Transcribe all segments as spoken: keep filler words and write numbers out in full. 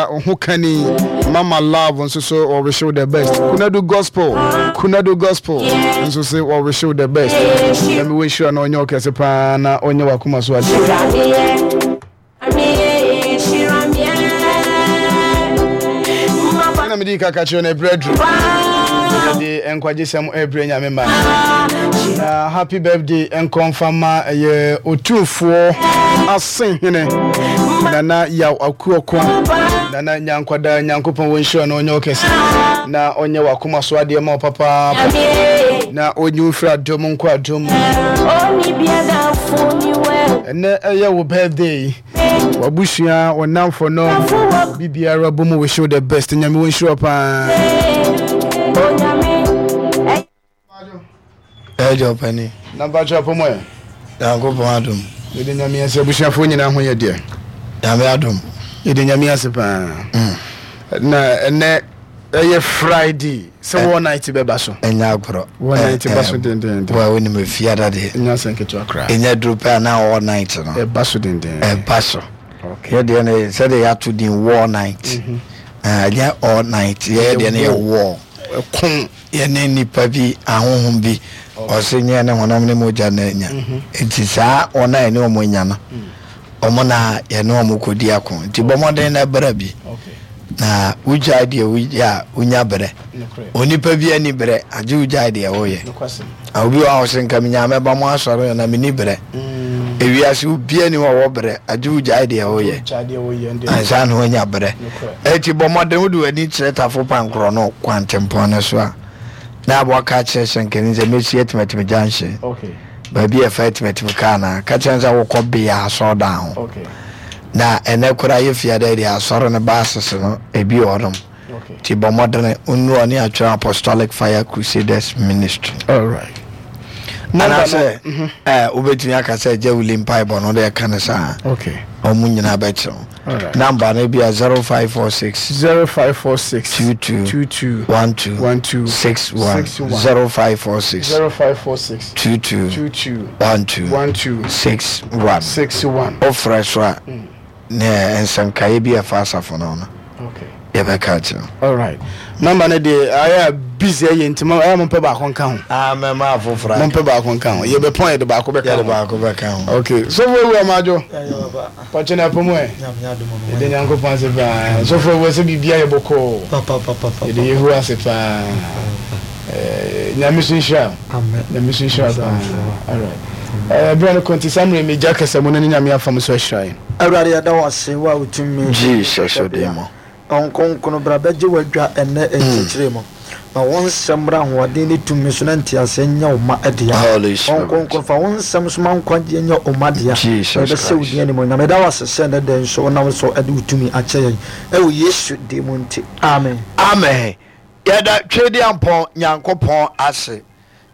Ho kani Mama Love nso so wɔwish you the best. Kunadu Gospel, Kunadu Gospel nso so wɔwish you the best. Nyame wɔnhyira na ɔnyɛ ɔkɛse paa na ɔnyɛ wakoma so adeɛ. Na mede kaka kyerɛ no, ɛberɛ aduru yɛde nkwagyesɛm ɛbrɛ Nyame ma. Na happy birthday nkɔmfa ma ɛyɛ Otumfoɔ Asehene Nana Yaw Akuɔko. Nana Nyankwadaa, Nyankopɔn wɔnhyira na ɔnyɛ ɔkɛse na ɔnyɛ wakoma so adeɛ ma wo papaapa na ɔnyi wo mfiri adom nkɔ adom mu. Ɛnɛ ɛyɛ wo birthday, wabusua, wɔnamfo no, biribiara bɔ mu wish you the best. Nyame wɔnhyira wo paa. Ɛgya ɔpani. Na mpakyɛ apɔ mu ɛ? Nyankopɔn adom. Yɛde Nyame ase. Abusuafoɔ nyinaa ho yɛ deɛ? Nyame adom. Yɛde Nyame ase paa. Na ɛnɛ ɛyɛ Friday sɛ war night bɛba so. Ɛnyɛ agorɔ. War night ba so dendenden. Wa wonim efiada deɛ. Ɛnyɛ asɛm ketewa koraa. Ɛnyɛ duro pɛ a na all night no. Ɛba so denden. Ɛba so. Okay. Yɛ deɛ no sɛdeɛ yɛato din war night. Ɛnyɛ all night, yɛyɛ deɛ no yɛ war. Ɛko. Yɛne nipa bi, ahohom bi, ɔse nyɛ ne honam ne mogya na anya. Nti saa wɔn a yɛne wɔn anya no, wɔn na yɛne wɔn kɔdi ako. Nti bɔ mmɔden na brɛ bi. Na wogyae deɛ woyɛ a, wonya berɛ. Onipa bi ani berɛ agye wogyae deɛ woyɛ. Na obi wɔ a ɔse nka menya mɛba mo asɔre na menni berɛ. Ewiase obi ani hɔ wɔ berɛ agye wogyae deɛ woyɛ ansa na woanya berɛ. Eti bɔ mmɔden wode w'ani kyerɛ Tafo Pankorɔ no kwantempɔn no so a, na aboa ka kyerɛ hyɛnkani sɛ mɛsi Atimatim Junction, baabi a ɛfa Atimatim kaa no a, ka kyerɛ no sɛ wokɔ Bea asɔredan ho. Na ɛnɛ koraa yɛ fiada deɛ asɔre no baasese no ebi wɔ hɔnom. Nti bɔ mmɔdene wonnu ɔne atwerɛ Apostolic Fire Crusaders Ministry. Alright. Anaasɛ ɛɛ wobɛtumi aka sɛ Agya Wuli mpaebɔ no wode ɛka no saa. Okay. Ɔmo nyinaa bɛkyerɛ wo. Alright. Number no bi a zero five four six. Zero five four six. Two two. Two two. One two. One two. Six one. Six one. Zero five four six. Zero five four six. Two two. Two two. One two. One two. Six one. Six one. Wofrɛ so a ne nsɛnkaeɛ bi a ɛfa asafo no ho no Okay. yɛbɛka akyerɛ wo. Alright. Number no deɛ ayɛ a busy ɛyɛ nti mo ɛyɛ mo mpɛ baako nka ho. Ah, mɛma afoforɔ Mo mpɛ baako nka ho. Yɛbɛpɔn yɛde baako bɛka yɛde ho. baako bɛka ho. Okay. Sɔfo ewu amadwo. Pɔtwe na ɛpɔ mu ɛ. Yɛde Nyankopɔn ase paa. Sɔfo ewu sɛ biribi ayɛ bɔkɔɔ. Yɛde Yehowa ase paa. Ɛɛ Nyame so nhyira. Nyame so nhyira paa. Alright. Ɛɛ bere no kɔnti saa mmerɛ megya kasa mu na ne Nyame afa mu so ahyira yɛn. Awurade, yɛda wo ase, wo a wotumi Jesus ɔde mu. Ɔnkonkono bra bɛgye w'adwa ɛnnɛ nkyɛkyerɛ mu. Ma wo nsɛm mmra ahoɔden ne tumi so na nteaseɛ nyɛ wo ma dea. Holy Spirit. Ɔnkonkono, fa wo nsɛm so ma nkwagyeɛ nyɛ wo ma dea. Jesus Na yɛbɛhyɛ wo Christ. din animuonyam. Yɛda wo ase sɛ ɛnnɛ da yi nso wonam so de wo tumi akyɛ yɛn. Ɛwɔ Yesu din mu nti, amen. Amen. Yɛda Twedeampɔn Nyankopɔn ase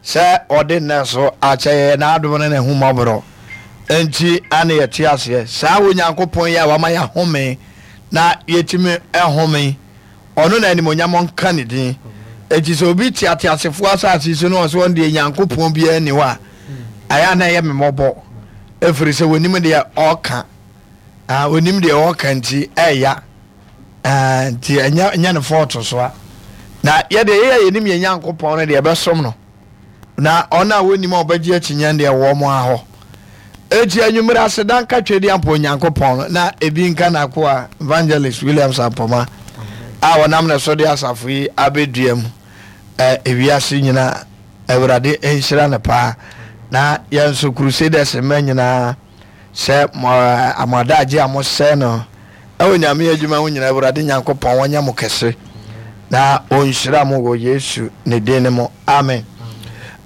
sɛ ɔde nnɛ so akyɛ yɛn, n'adom ne n'ahummɔborɔ nti ane yɛte aseɛ. Saa Onyankopɔn yi a wama yɛahome na yɛtumi home, ɔno na animonyam nka ne din. Enti sɛ obi te ateasefoɔ asase so na ɔsɛ ɔno deɛ Nyankopɔn biara nni hɔ a, ɛyɛ a na ɛyɛ me mmɔbɔ, ɛfiri sɛ wɔnim deɛ ɔreka. Ah, onim deɛ ɔreka nti ɛya. Ah, nti ɛnyɛ ɛnyɛ ne fɔɔto so a. Na yɛdeɛ yɛyɛ yɛnim yɛn Nyankopɔn no deɛ ɛbɛsom no. Na ɔno a wɔnim a ɔbɛgye akyinnye deɛ wɔ mo ahɔ. Eti anwummerɛ aseda nka Twedeampo Onyankopɔn no na ebi nka n'akoa Evangelist Williams Ampoma a wɔnam ne so de asafo yi abɛdua mu ɛ ewiase nyinaa. Awurade nhyira no paa. Na yɛn nso Crusaders mma nyinaa sɛ mo mo adagye a mosɛe no ɛwɔ Nyame adwuma ho nyinaa, Awurade Nyankopɔn wɔnyɛ mo kɛse na ɔnhyira mo wɔ Yesu ne din no mu. Amen.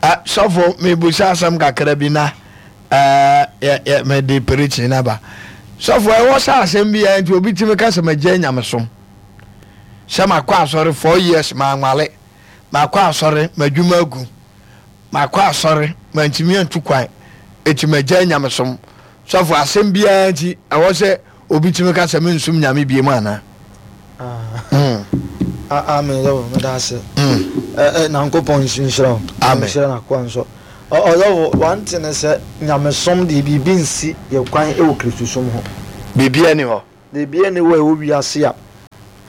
Uh, sɔfo, mebusa asɛm kakra bi na uh, yɛ, yɛ, mede preaching no aba. Sɔfo, ɛwɔ sɛ asɛm bi a nti obi tumi ka sɛ magya nyamesom, sɛ makɔ asɔre four years manwale, makɔ asɔre m'adwuma agu, makɔ asɔre mantumi antu kwan, eti magya nyamesom. Sɔfo, asɛm biara nti ɛwɔ sɛ obi tumi ka sɛ mensom Nyame biem anaa? Mm. Amen. Yɛwɔ meda ase. Mm. Nyankopɔn nhyira wo. Amen. Nhyira n'akoa nso. Ɔyɛwo one thing ne sɛ nyamesom deɛ biribi nsi yɛ kwan wɔ Kristosom ho. Biribiara ni hɔ. Biribiara ni hɔ a ɛwɔ wiase a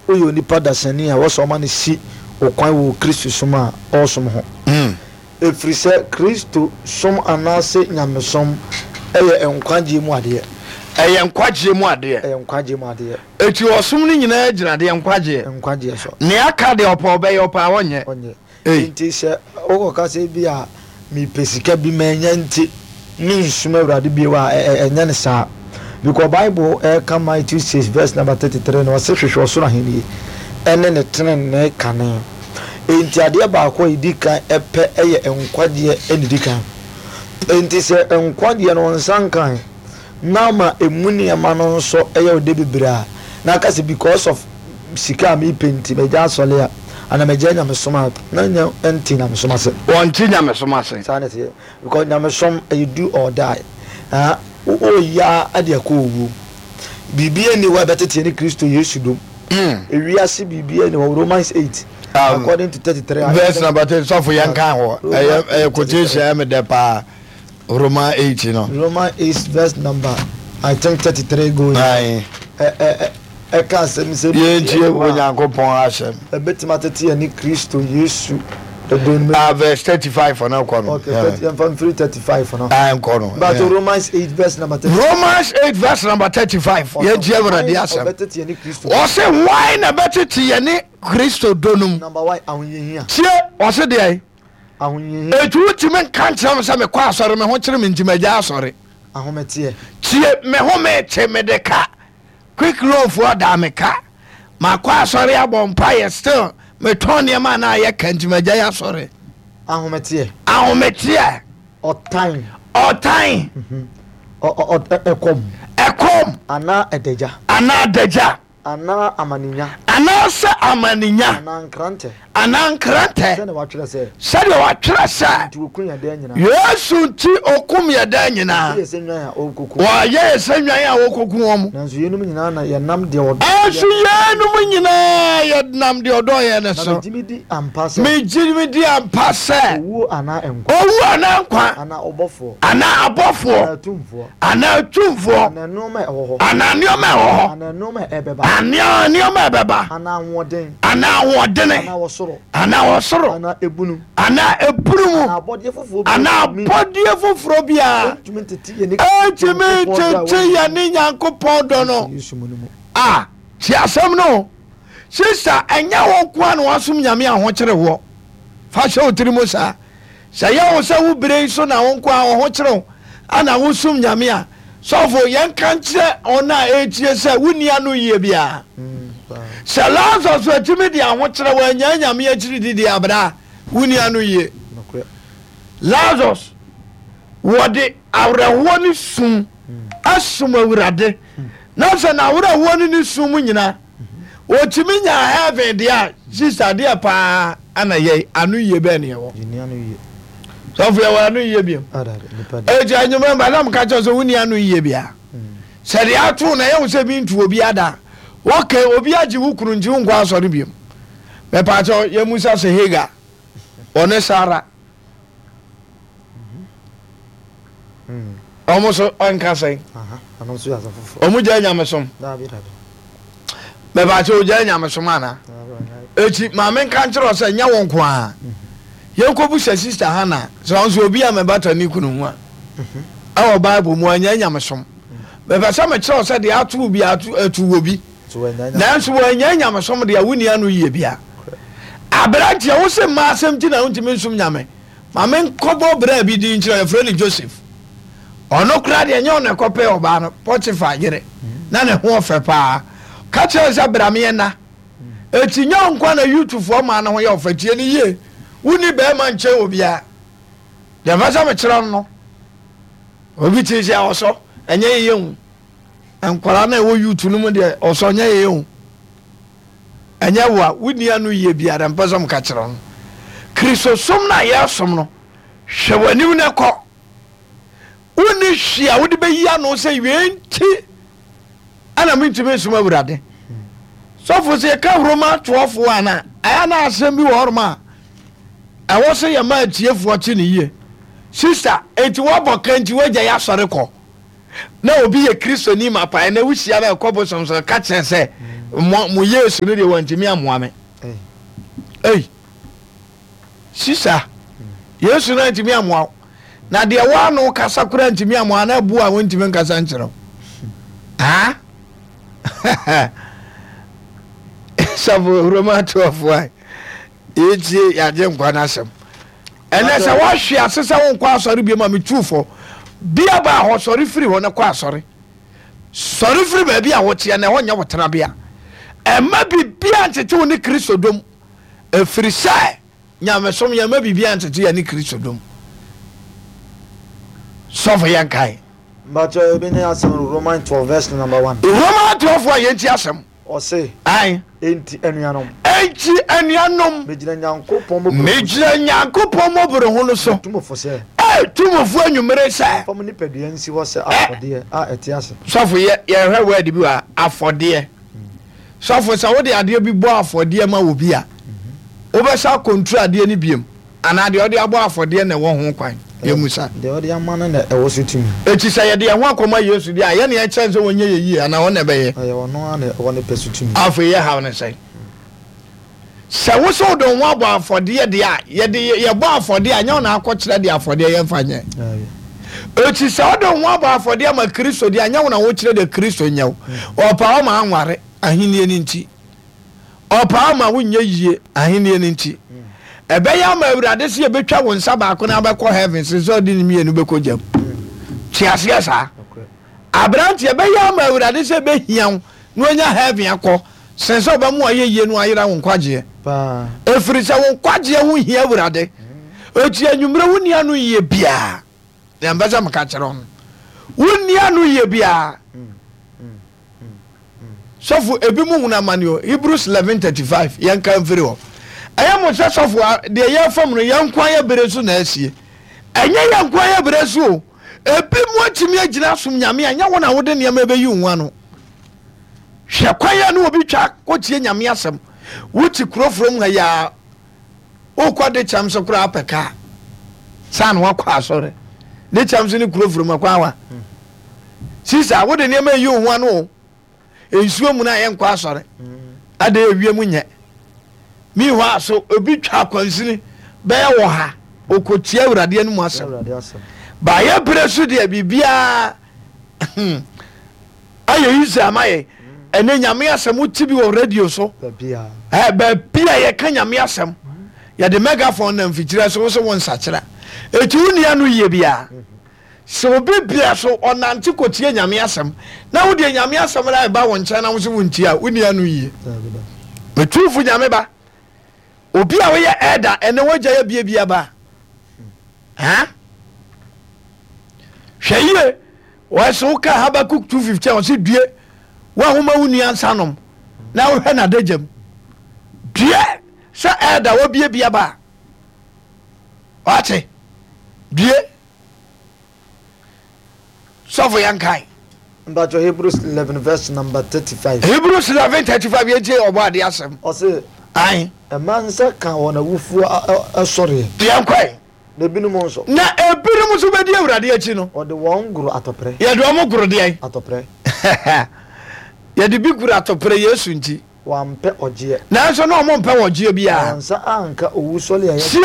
Woyɛ onipa dasani a wɔsɛ ɔma no si wo kwan wɔ Kristo som a ɔresom ho. Mm. Ɛfiri sɛ Kristo som anaasɛ nyamesom ɛyɛ nkwagyeɛ mu adeɛ. Ɛyɛ nkwagyeɛ mu adeɛ. Ɛyɛ nkwagyeɛ mu adeɛ. Eti ɔsom no nyinaa gyina deɛ nkwagyeɛ. Nkwagyeɛ so. Nea aka deɛ ɔpɛ ɔbɛyɛ, ɔpɛ a ɔnyɛ. Ɔnyɛ. Ei. Nti sɛ wokɔka sɛ bi a mepɛ sika bi manya nti mensom Awurade bio a, ɛ- ɛ- ɛnyɛ ne saa, because Bible ɛka Matthew six verse number thirty-three no, ɔse hwehwɛ ɔsoro ahennie ɛne ne tenenee kane. Enti adeɛ baako a ɛdi kan ɛpɛ ɛyɛ nkwagyeɛ ɛne di kan. Enti sɛ nkwagyeɛ no nsa nkan na ma emu nneɛma no nso ɛyɛ ɔde bebree a, na aka sɛ because of sika a mepɛ nti magya asɔre a, ana magya nyamesom a, na nya nte nyamesom ase. Wɔnte nyamesom ase. Saa na ɛteɛ, because nyamesom ɛyɛ do or die. Ah, woyia ade akɔ owuo, biribi ani hɔ a ɛbɛtete ne Kristo Yesu dom. Mm. Ewiase biribi ani hɔ. Romans eight Um, according to thirty-three. Verse number ten, sɔfo, yɛn kan hɔ. Ɛyɛ ɛyɛ quotation ɛmi dɛ paa, Roman eight no. Romans eight verse number, I think, thirty-three going. Ayi. ɛ ɛ ɛka asɛm sɛ Yɛn tie Onyankopɔn asɛm. Ɛbɛtumi atete yɛn ne Kristo Yesu ɛdɔn mu. Ah, verse thirty five ɔno kɔ no. Okay, thirty, yɛmfa mfiri thirty-five no. Ah, nkɔ no. But Yeah. Romans eight verse number thirty. Romans eight verse number thirty five, yɛn tie Awurade asɛm. Ɔbɛtete yɛn ne Kristo. Ɔsɛ hwan na bɛtete yɛn ne Kristo dɔ no mu? Number one, ahohiahia. Tie, ɔsɛ deɛ Ahohiahia. Etu wotumi nka nkyerɛ me sɛ mekɔ asɔre, me ho kyerɛ me nti magya asɔre. Ahometeɛ. Tie, me ho mete, mede ka quick loan foɔ da me ka, makɔ asɔre abɔ mpayɛ, still metɔn nneɛma a na ayɛ ka nti magya yɛ asɔre. Ahometeɛ. Ahometeɛ. Ɔtan. Ɔtan. Ɔ- ɔ- ɔ- ɛkɔm. Ɛkɔm. Anaa ɛdagya. Anaa adagya. Anaa amanenya. Anaasɛ amanenya. Anaa nkrantɛ. Anaa nkrantɛ. Sɛdeɛ wɔatwerɛ sɛ. Sɛdeɛ wɔatwerɛ sɛ. Nti wɔkum yɛn daa nyinaa. Yesu nti okum yɛ daa nyinaa. Yɛ sɛ nnwan a wɔrekɔku. Wɔayɛ yɛ sɛ nnwan a wɔkɔku wɔn mu. Nanso yeinom nyinaa na yɛnam deɛ ɔdɔ. Ɛnso yɛnom nyinaa yɛnam deɛ ɔdɔ yɛn no na so. megye me di ampa sɛ. Megye me di ampa sɛ. Owuo anaa nkwa. Owu anaa nkwa. Anaa ɔbɔfoɔ. Anaa abɔfoɔ. Anaa atumfoɔ. Anaa atumfoɔ. Anaa nneɛma a ɛwɔ hɔ. Anaa nneɛma a ɛwɔ hɔ. Anaa nneɛma a ɛbɛba. Anaa nneɛma a ɛbɛba. Anaa ahoɔden. Anaa ahoɔdene. Anaa wɔsoro. Anaa ɔsoro. Anaa ebunu. Anaa ebunu mu. Anaa abɔdeɛ foforɔ bi. Anaa abɔdeɛ foforɔ biara. Ɛntumi ntete yɛn ne ɛntumi ntete yɛn ne Nyankopɔn dɔ no. Yesu mu no mu. A tie asɛm no, sister, ɛnyɛ wo nko a na wasom Nyame ahokyere woɔ. Fa hyɛ wo tiri mu saa. Sɛ yɛ wo sɛ wo bere yi so na wo nko a wo ho kyerɛ wo ana wosom Nyame a, sɔfo, yɛnka nkyerɛ ɔno a ɛtie sɛ wonni ano yie biara. Sɛ Lazarus atumi de ahokyerɛ wɔanya Nyame akyiri didi abra a, wonni ano yie. Nokorɛ. Lazarus wɔde awerɛhoɔ ne sum asom Awurade, na sɛ n'awerɛhoɔ ne ne sum mu nyinaa wɔtumi nya heaven deɛ a, sister, deɛ paa ana yɛ ano yie bɛɛ ne yɛwɔ? Yɛnni ano yie. Sɔfo, yɛwɔ ano yie biom? Ada nipa de. Eti anwummerɛ mba nam ka kyerɛ sɛ wonni ano yie bia sɛ deɛ ato na yɛwo sɛ bi ntu obi ada. Okay, obi agye wo kunu nti wonkɔ asɔre biom. Mɛpaakyɛw, yɛmusa sɛ Hagar ɔne Sara ɔmo so ɔnka sɛn? Aha, ɔno nso yɛ asɛm foforɔ. Ɔmo gya nyamesom? Daabi, daabi. Mɛpaakyɛw, ogya nyamesom ana? Daabi, ɔnyɛ. Eti maame, nka nkyerɛ wo sɛ nyɛ wo nko a. Yɛnkɔbu sɛ sister Hana sɛ ɔnso obi a mɛbata ne kunu ho a ɛwɔ Bible mu anya nyamesom. Mɛpɛ sɛ mekyerɛ wo sɛ deɛ ato bi ato atu wɔ bi. So wɔanya. Nanso wɔanya nyamesom deɛ, wonni ano yie bia. Aberanteɛ, wo se mmaa asɛm nti na wontumi nsom Nyame, ma menkɔbɔ berɛ bi din nkyerɛ. Yɛfrɛ no Joseph. Ɔno koraa deɛ, ɛnyɛ ɔno ɛkɔpɛ ɔbaa no, Potiphar yere na ne ho ɔfɛ paa ka kyerɛ no sɛ bra meɛ na eti nyɛ wo nkwa na youthfoɔ maa ne ho yɛ ɔfɛ. Tie ne yie, wonni bɛrima nkyɛn obiara. Deɛ mfa sɛ mekyerɛ no no obi te sɛ ɔsɔ ɛnyɛ yie hu. Nkwaraa na ɛwɔ youth no mu deɛ, ɔsɔ nyɛ yie hu. Ɛnyɛ wo a wonni ano yie biara mpɛ sɛ mka kyerɛ no. Kristosom no a yɛsom no, hwɛ w'anim no kɔ. Wonni hwee a wode bɛyi ano sɛ wei nti ɛna mentumi nsom Awurade. Sɔfo, sɛ yɛka Roma atoɔfoɔ ana ɛyɛ na asɛm bi wɔ hɔnom a ɛwɔ sɛ yɛma atiefoɔ te ne yie. Sister, enti woabɔ ka nti woagya yɛ asɔre kɔ na obi yɛ Kristoni ma pae na wohyia no ɛkɔ bosom so ka kyerɛ sɛ Mo mo Yesu no deɛ wantumi ammoa me. Ei, sisa, Yesu no antumi ammoa wo. Na deɛ woano kasa koraa ntumi ammoa na abu a wontumi nkasa nkyerɛ wo. Ah? Sɔfo Roma twelve a yɛtie yɛagye nkwa no asɛm. Ɛnɛ sɛ woahwe ase sɛ wonkɔ asɔre bio ma metu fɔ. Bia baa hɔ sɔre firi hɔ na kɔ asɔre. Sɔre firi baabi a woteɛ na ɛhɔ nyɛ wo tenabea. Ɛmma biribiara ntete wo ne Kristo dom, ɛfiri sɛ nyamesom yɛmma biribiara ntete yɛne Kristo dom. Sɔfo yɛnkae. Mpakyɛ ebi ne asɛm no Roman twelve verse number one. Roman twelve a yɛnti asɛm. Ɔse. Ae. Enti anuanom. Enti anuanom. Megyina Nyankopɔn mmɔborɔhunu so. Megyina Nyankopɔn mmɔborɔhunu so. Metu mo fo sɛ. Ee, tu mo fo anwummere sɛ. Momfa mo nipadua nsi hɔ sɛ afɔdeɛ a ɛte ase. Sɔfo, yɛ, yɛhwɛ word bi wɔ ha, afɔdeɛ. Sɔfo, sɛ wode adeɛ bi bɔ afɔdeɛ ma obi a, wobɛsa akɔnturu adeɛ no biom, anaa deɛ ɔde abɔ afɔdeɛ na ɛwɔ ho kwan? Yɛmmusa. Deɛ ɔde ama no na ɛwɔ so tumi. Enti sɛ yɛde yɛn ho akɔma Yesu deɛ a, yɛn na yɛkyerɛ no sɛ ɔnyɛ yɛn yie anaa ɔno na ɛbɛyɛ? Ɛyɛ ɔno ara na ɛwɔ ne pɛ so tumi. Afei yɛ haw ne sɛn? Sɛ wo sɛ wode wo ho abɔ afɔdeɛ deɛ a, yɛde yɛbɔ afɔdeɛ a, ɛnyɛ wo na akɔkyerɛ deɛ afɔdeɛ yɛmfa nyɛ. Enti sɛ wode wo ho abɔ afɔdeɛ ama Kristo deɛ a, ɛnyɛ wo na wokyerɛ deɛ Kristo nyɛ wo. Ɔpaa wo ma anware, ahennie no nti. Ɔpaa wo ma wonyɛ yie, ahennie no nti. Ɛbɛyɛ ama Awurade sɛ yɛbɛtwa wo nsa baako na abɛkɔ heaven sen sɛ ɔde ne mmienu bɛkɔ gyam. Te aseɛ saa? Aberanteɛ, ɛbɛyɛ ama Awurade sɛ ɛbɛhia wo na wanya heaven akɔ sen sɛ ɔbɛma wayɛ yie na wayera wo nkwagyeɛ. Ɛfiri sɛ wo nkwagyeɛ ho hia Awurade. Enti anwummerɛ wonni ano yie biara. Deɛ mpɛ sɛ meka kyerɛ wo no, wonni ano yie biara. Sɔfo, ebi mu hunu amane o. Hebrews eleven thirty five, yɛnka mfiri hɔ. Ɛyɛ mo sɛ sɔfo a, deɛ yɛrefa mu no, yɛn nko ara yɛ bere so na asie. Ɛnyɛ yɛn nko ara yɛ bere so o. Ebi mu atumi agyina asom Nyame a, ɛnyɛ wo na wode nneɛma ɛbɛyi wo ho ano. Hwɛ kwan a ne obi twa kɔtie Nyame asɛm. Wote kuro from ha yi a, wokɔ de kyɛm so koraa pɛ kaa. Saa na wakɔ asɔre. De kyɛm so ne kuro from akwan wa. Sisa, wode nneɛma eyi wo ho ano o. Nsuo mu na yɛnkɔ asɔre. Ade ewiem nyɛ. Meanwhile so obi twa akwansini bɛyɛ wɔ ha okotia Awurade anim asɛm. Baayɛ berɛ so deɛ biribiara ayɛ easy ama yɛn. Ɛnɛ Nyame asɛm wote bi wɔ radio so. Baabi a yɛka Nyame asɛm yɛde megaphone na mfikyirɛ so wo so wo nsakyera. Eti wo nua no yie biara. Sɛ obi brɛ so ɔnante kɔtie Nyame asɛm, na wo deɛ Nyame asɛm no ɛba wo nkyɛn na wo se wontie a, wonni ano yie. Metumfo Nyame ba, obi a woyɛ ɛda ɛnɛ wagya yɛ bie bia ba. Ha? Hwɛ yie, wɔsɛ woka Habakuk two fifteen ɔse due, wo a woma wo nua nsa nom na wohwɛ n'adagyam. Due sɛ ɛda wabie bia ba. Wate? Due. Sɔfo yɛn kan. Mpatsɔ Hebrews eleven verse number thirty five. Hebrews eleven thirty five yɛn tie ɔbɔ ade asɛm. Ɔse. Ayi. Ɛma nsa ka wɔn awufoɔ asɔreɛ. Yɛn kɔɛ. Na ebinom nso. Na ebinom nso bɛdi Awurade akyi no. Wɔde wɔn goro atɔprɛ. Yɛde wɔn goro deɛn? Atɔprɛ. Yɛde bi goro atɔprɛ Yesu nti. Wɔampɛ ɔgyeɛ. Nanso na wɔn mpɛ ɔgyeɛ biara. Wɔn nsa anka owusɔre a ɛyɛ. Sie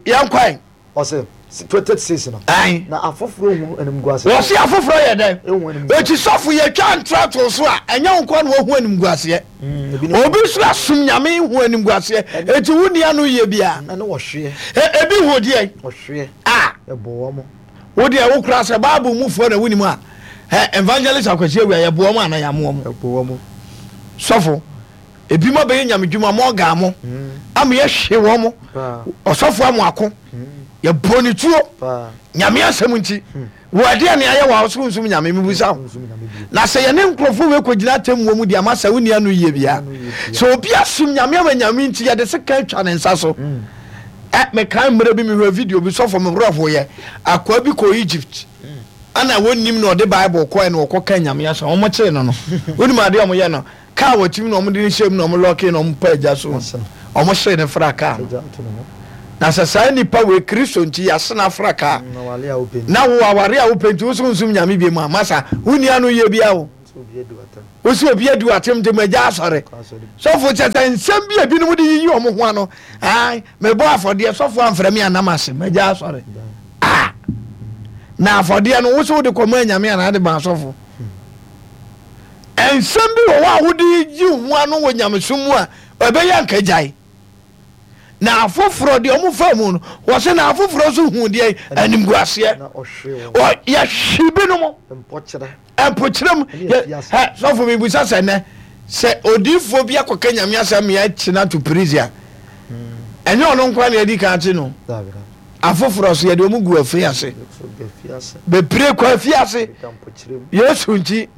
yɛn kɔɛ. Ɔse, twenty six no. Ae. Na afoforɔ hunu animguaseɛ. Wɔse afoforɔ yɛ dɛn? Ehu animguaseɛ. Eti sɔfo yɛtwa ntra too so a, ɛnyɛ wo nkoa na wahu animguaseɛ. Mm, ebinom. Obi nso asom Nyame hu animguaseɛ. Eti wo nni ano yie biara. Ɛne ɔhweɛ. E, ebi hu deɛn? Ɔhweɛ. A. Ɛbɔ wɔn. Wo deɛ wo koraa sɛ Bible mu foɔ na wonim a, ɛ, Evangelist Akwasi Awia yɛboa wɔn anaa yɛamoa wɔn? Ɛbɔ wɔn. Sɔfo, ebinom abɛyɛ nyamedwuma mɔgaa mo ama yɛhwe wɔn mo ɔsɔfo amoako yɛbɔ ne tuo Nyame asɛm nti wɔ ɛdeɛ ne ayɛ wɔ a ɔsoro nsum Nyame mebusa wo na sɛ yɛne nkurɔfoɔ wei kɔgyina atemmuo mu deɛ ama sɛ wonni ano yie bia sɛ obi asom Nyame ama Nyame nti yɛde seka atwa ne nsa so ɛ mekae mmerɛ bi mehwɛ video bi sɔfo me werɛ hoyɛ akoa bi kɔ Egypt ana wɔnnim na ɔde Bible kɔɛ na ɔkɔka Nyame asɛm wɔn kyee no no wonim adeɛ wɔn yɛ no Kaa wɔ tim na wɔde no hyɛɛ mu na wɔlɔɔkee na wɔpaa agya so na wɔhyee no fra kaa no. Na sɛ saa nipa wei Kristo nti yɛase no afra kaa na wo aware a wopɛ nti wo so nsom Nyame biom a, masa wonni ano yie biara o. Wosi obi adi w'atem nti magya asɔre. Sɔfo kyɛ sɛ nsɛm bi a ebinom de yiyi wɔn ho ano. Ae, mebɔ afɔdeɛ, sɔfo amfrɛ me anam ase, magya asɔre. Ah! Na afɔdeɛ no, wo sɛ wode kɔma anyame anaa de ma asɔfo? Nsɛm bi wɔ hɔ a wode yi ho ano wɔ nyamesom mu a ɛbɛyɛ anka gyae. Na afoforɔ deɛ wɔn fa mu no, wɔsɛ na afoforɔ nso hu deɛ animguaseɛ. Yɛhwe binom. Mpokyerɛ mu. Sɔfo mebisa sɛ nnɛ sɛ odiifoɔ bi akɔka Nyame asɛm ma yɛakye no ato prison a, ɛnyɛ ɔno nkoa na yɛadi kan akye no. Afoforɔ so yɛde wɔn gu afiri ase. Bebree kɔ afiase Yesu nti.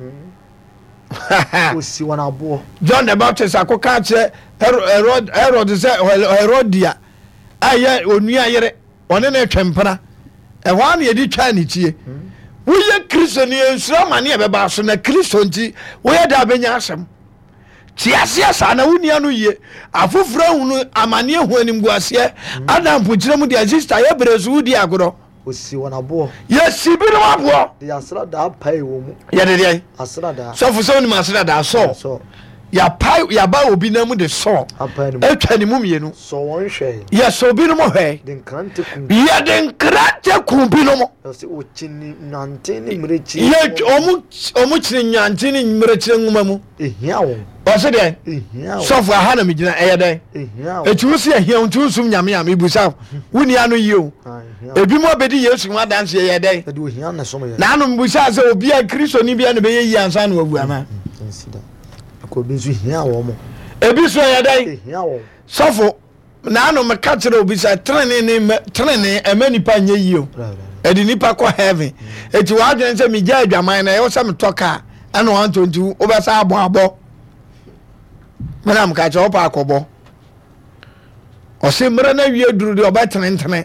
Wɔsi wɔn aboɔ. John the Baptist akɔka akyerɛ Herod Herod sɛ Herodia a ɛyɛ onua yere ɔne no retwe mpena. Ɛhɔ ara na yɛde twaa ne tie. Woyɛ Kristo ni nsuro amane a ɛbɛba so na Kristo nti woyɛ dɛ abɛnya asɛm. Te aseɛ saa na wonni ano yie. Afoforɔ ahunu amaneɛ hu animguaseɛ. Ada mpokyerɛ mu deɛ sista yɛ berɛ so wodi agorɔ. Wɔsi wɔn aboɔ. Yɛsi binom aboɔ. De asradaa pae wɔn mu. Yɛde deɛn? Asradaa. Sɔfo sɛ wonim asradaa sɔɔ. Yɛapae yɛaba obi nan mu de sɔɔ. Atwa ne mu mmienu. Sɔ wɔn hwɛe. Yɛsɔ binom hwɛe. De nkrante kum. Yɛde nkrante kum binom. Yɛsɛ wɔkyini nnwanten ne mmirekyie. Yɛ wɔn wɔn kyini nnwanten ne mmirekyie nwoma mu. Ehia wɔn. Ɔse dɛn? Ehia wɔn. Sɔfo aha na megyina ɛyɛ dɛn? Ehia wɔn. Eti wo se ehia wo nti wonsum Nyame a mebusa wo. Wonni ano yie o. Ah, ehia wɔn. Ebi mu abɛdi Yesu ho adanseɛ yɛ dɛn? Ɛde ohia na ɛsom yɛ. Na ano mebusa sɛ obi a Kristoni bia na bɛyɛ yie ansa na wawu anaa? Nsi da. Ɛkɔ ebi nso hia wɔn. Ebi so ɛyɛ dɛn? Ehia wɔn. Sɔfo naano meka kyerɛ obi sɛ trenee ne mɛ trenee ɛmɛ nipa nyɛ yie o ɛde nipa kɔ heaven eti w'adwene sɛ megya adwaman na ɛwɔ sɛ metɔ kaa ɛna wantɔ nti wobɛsa abɔ abɔ mena meka kyerɛ wopɛ akɔbɔ ɔse mmerɛ no awie duru deɛ ɔbɛtenetene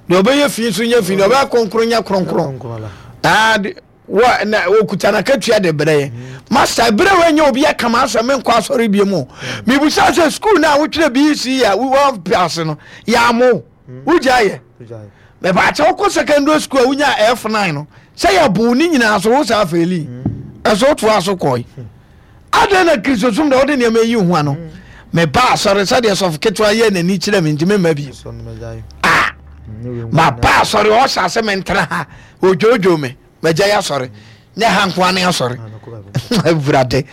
deɛ ɔbɛyɛ fi nso nyɛ fi deɛ ɔbɛyɛ kronkron nyɛ kronkron aa Wɔ na wɔkuta n'akatua de brɛ yɛn. Master, berɛ a wɔanya obi aka m'asɛm menkɔ asɔre bio mu. Mebusa sɛ sukuu no a wotwerɛ B E C a wɔampe ase no, yɛammo wo. Wogyae yɛ. Mepaakyɛ wokɔ secondary school a wonya F nine no, sɛ yɛboo ne nyinaa so wo saa faili. Ɛso wotoa so kɔe. Adɛn na Kristosom na wode nneɛma yi ho ano? Meba asɔre sɛdeɛ sɔfo ketewa yɛ n'ani kyerɛ me nti memma bio. Ah, maba asɔre ɔhyɛ ase mentena ha odwoodwoo me magya yɛ asɔre nyɛ ha nkoa ne asɔre. Awurade,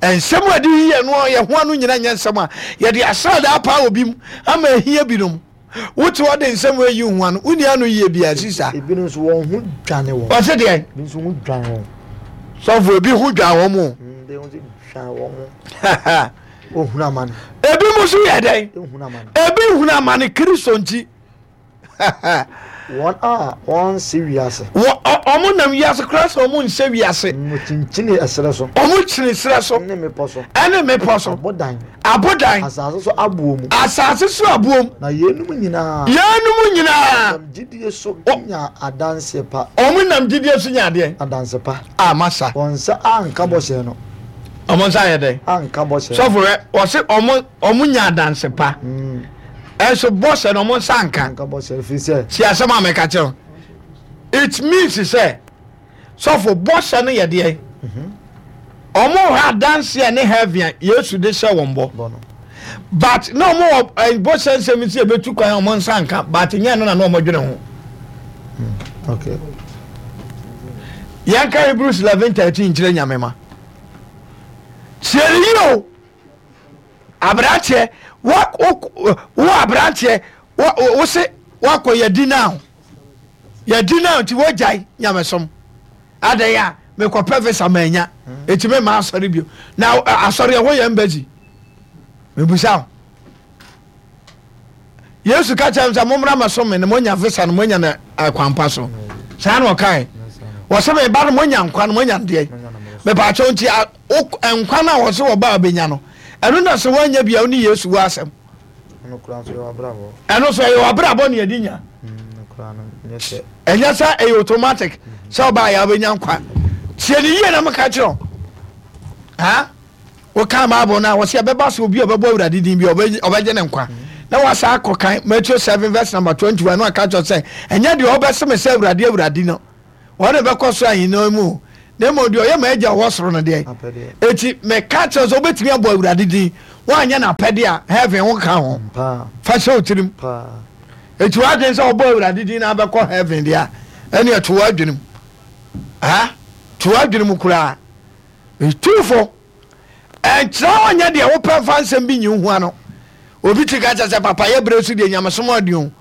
nsɛm a ɛde yi yɛ no yɛ ho ano nyina nyɛ nsɛm a yɛde asradaa paa obi mu ama ahia binom. Wote hɔ de nsɛm ayi ho ano, wonni ano yie bia sisa. Ebinom nso wɔn ho dwane wɔn. Ɔse deɛ? Ebi nso ho dwane wɔn. Sɔfo, ebi ho dwan wɔn o. Ebi nso dwane wɔn. Ohunu amane. Ebi mu nso yɛ dɛn? Ebi hunu amane Kristo nti. Wɔn a wɔnse wiase. Wɔ ɔmo nam wiase koraa sɛ ɔmo nhyɛ wiase. Wɔkyinkyini ɛserɛ so. Ɔmo kyini serɛ so. Ne mmepɔ so. Ɛne mmepɔ so. Abodan. Abodan. Asase so aboɔ mu. Asase so aboɔ mu. Na yeinom nyinaa. Yeinom nyinaa. Nam gyidie so nya adanseɛ pa. Ɔmo nam gyidie so nya adeɛ. Adanse pa. A masa. Wɔn nsa anka bɔhyɛ no. Ɔmo nsa ayɛ dɛn? Anka bɔhyɛ. Sɔfo rɛ wɔsi ɔmo ɔmo nya adanse pa. Mm. Ɛnso bɔhyɛ no ɔmo nsa nka. Anka bɔhyɛ firi sɛ. Si asɛm a mɛka kyerɛ, it means sɛ sɔfo bɔhyɛ no yɛ deɛ ɔmo hɔ adanseɛ ne heaven a Yesu de hyɛ wɔn bɔ, but na ɔmo wɔ ɛ bɔhyɛ nsɛm si ebetu kwan a ɔmo nsa nka, but nyɛ no na na ɔmo dwene ho. Okay. Yɛn ka Hebrews eleven thirteen kyerɛ Nyame ma tie ne yie o. Aberanteɛ, wo wo wo aberanteɛ, wo wo se wakɔ yɛdi now yɛdi now nti wogyae nyamesom adɛn a mekɔpɛ visa manya eti me ma asɔre bio na asɔre ɛhɔ yɛ embassy. Mebusa wo, Yesu ka kyerɛ m sɛ mommra mɛsom me na moanya visa no moanya no akwampa so. Saa na ɔkae, wɔsɛ meba no moanya nkwa no moanya deɛ mepaakyɛw nti nkwa no a wɔsɛ wɔba a bɛnya no ɛno na sɛ woanya bia wo ne Yesu wɔ asɛm. Ɛno so ɛyɛ wabrabɔ ne yɛde nya, ɛnyɛ sɛ ɛyɛ automatic sɛ ɔbaa yɛ wobɛnya nkwa. Tie ne yie na meka kyerɛ ha. Wokan Bible no a, wɔsɛ ɛbɛba sɛ obi a ɔbɛbɔ Awurade din bi ɔbɛgye ne nkwa. Na wasa akɔ kan Matthew seven verse number twenty-one no aka kyerɛ sɛ ɛnyɛ deɛ ɔbɛse me sɛ Awurade, Awurade no wɔne bɛkɔ so ahenni mu, Na mmom deɛ ɔyɛ m'agya ɔwɔ soro no deɛ. Eti meka kyerɛ sɛ wobɛtumi abɔ Awurade din, woanyɛ n'apɛdeɛ a, heaven wo nka ho. Fa hyɛ wo tirim. Eti w'adwene sɛ wɔbɔ Awurade din na abɛkɔ heaven deɛ a, ɛneɛ to w'adwene mu. Ha? To w'adwene mu koraa. Metu fo. Ɛnkyerɛ wɔnyɛ deɛ wopɛ mfa nsɛm bi nyi wo ho ano. Obi ti ka kyerɛ sɛ papa yɛ berɛ so deɛ nyamesom ɔden o.